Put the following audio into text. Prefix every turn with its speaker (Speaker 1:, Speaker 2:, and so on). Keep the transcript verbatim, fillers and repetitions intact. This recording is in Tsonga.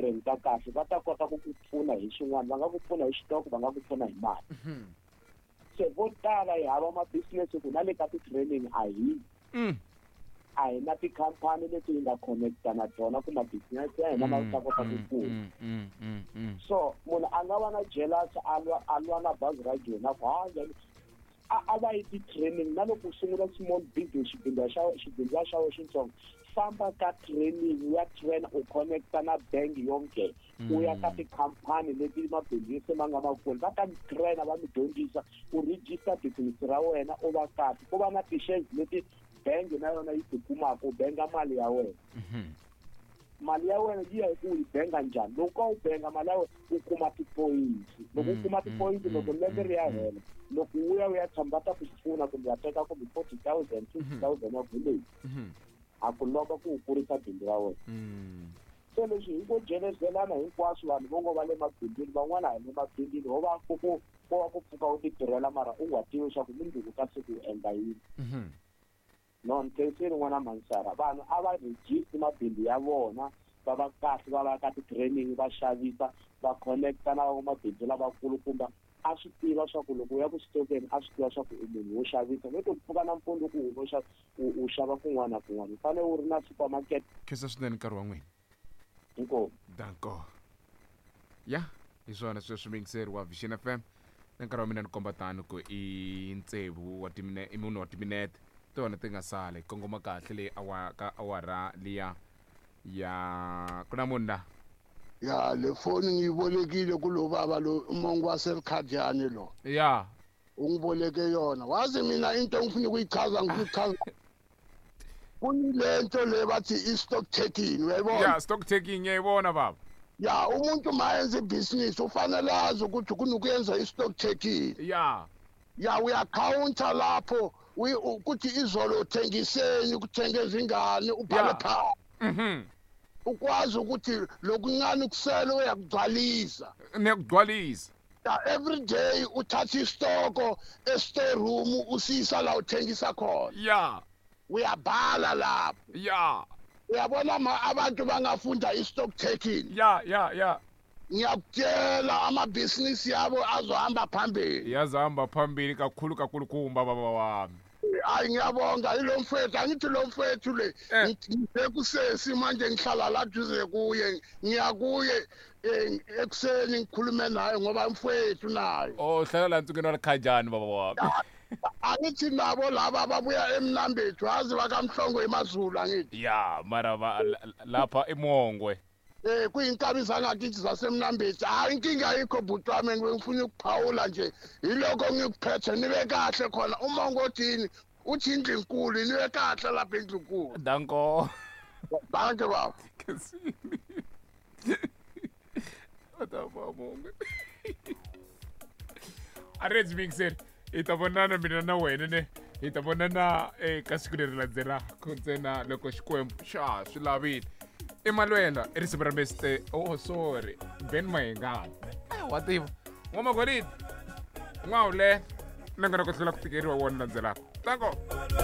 Speaker 1: tirheni ka kahle va ta kota ku ku pfuna hi xin'wana va nga ku pfuna hi xitoko va nga ku pfuna hi mali se vo tala hi hava ma-business ku na le ka ti-training a hi a hi na tikhampani leti hi nga connecta na tona ku ma-business ya hina ma ta kota ku kula so munhu a nga va na jealous a lwa a lwa na bazi ra jona ku ha njhani a a va yi ti-training na loko u sungula small business xibindzu xa xibindzu xa wena xitsongo famba ka training u ya train u connecta na bank yonke u ya ka tikhampani leti mabindzu se ma nga makulu va ta mi traina va mi dyondzisa u register business ra wena u va kahle ku va na ti-shares leti bangi na yona yi tikumaka u benga mali ya wena mali ya wena yi ya hi ku u yi benga njhani loko u benga mali ya wena u kuma ti-points loko u kuma ti-points loko lembe ri ya hela loko u ya u ya tshama va ta ku pfuna kumbe va teka kumbe forty thousand fifty thousand ya goloi a ku lomba ku u kurisa bindzu ra wena se leswi hi ngo jelezelana hinkwaswo vanhu vo ngo va le mabindzwini van'wana hi le mabindzwini ho va ku ku ko va ku pfuka u ti tirhela mara u nga tivi leswaku mundzuku ka siku u endla yini no ni khensile n'wana mansara vanhu a va register mabindzu ya vona va va kahle va va ka ti-training va xavisa va connecta na van'wamabindzu lavakulukumba a swi tiva swa ku loko u ya ku xitokeni a swi tiva swa ku u munhu wo xavisa no to pfuka nampundzu ku u xava u xava kun'wana na kun'wana u fanele u ri na supermarket
Speaker 2: khensa swinene nkarhi wa n'wina
Speaker 1: inkomu
Speaker 2: danko ya hi swona sweswi muyingiseri wa Vision F M na nkarhi wa mina ni komba tano ku i ntsevu wa timine i mune wa timinete tona ti nga sala hi kongoma kahle leyi awa ka awara liya ya ku na munhu la
Speaker 3: ya le foni ngiyibolekile kulo baba lo umongo waseLukhadiyane lo
Speaker 2: ya
Speaker 3: ungiboleke yona wazi mina into engifuna ukuyichaza ngifuna ukuchaza kunilento le bathi i-stock taking uyayibona
Speaker 2: ya stock taking ngiyayibona baba
Speaker 3: ya umuntu mayenza ibhizinisi ufanele azi ukuthi kunokuyenza i-stock taking
Speaker 2: ya
Speaker 3: ya uyakhawunta lapho ukuthi izolo uthengiseni ukuthenge izingane ubhale phansi
Speaker 2: mhm
Speaker 3: ukwazi ukuthi lokuncane kusele uyakugcwalisa
Speaker 2: niyakugcwalisa
Speaker 3: ya every day uthatha isitoko e-storeroom usisa la uthengisa khona
Speaker 2: ya
Speaker 3: uyabhala lapho
Speaker 2: ya
Speaker 3: uyabona ma abantu bangafunda i-stock taking
Speaker 2: ya ya ya
Speaker 3: ngiyakutshela amabhizinisi yabo azohamba phambili
Speaker 2: yazohamba phambili kakhulu kakhulu kumba baba wami
Speaker 3: hayi ngiyabonga ilo mfowethu angithi lo mfowethu le ngisekusesi manje ngihlala la duze kuye ngiyakuye ekuseni ngikhulume naye ngoba mfowethu naye
Speaker 2: oh hlala la ntsukeni wa Lukhajani baba wami
Speaker 3: angithi nabo laba ababuya eMnambethu azi bakamhlongo emaZulu angithi
Speaker 2: ya mara lapha eMongwe
Speaker 3: eh kuyinkabi zangakithi zaseMnambethu hayi inkinga ayikho bhuti wami ngifuna ukuphawula nje yiloko ngikuphethe nibe kahle khona uma ngothini uthi indlu enkulu nibe kahle lapha endlunkulu
Speaker 2: danko
Speaker 3: danke baba
Speaker 2: Ataba Arrange mixer hi ta vonana mina na wena ne hi ta vonana eka siku leri landzelaka ntsena loko Xikwembu xa swi lavile Emanuela i risimu ra Mister oh sorry Ben Mayengani wa tiva n'wamagolidi n'wawule na ngona ku hlula ku tikeriwa wona landzelaka tanko.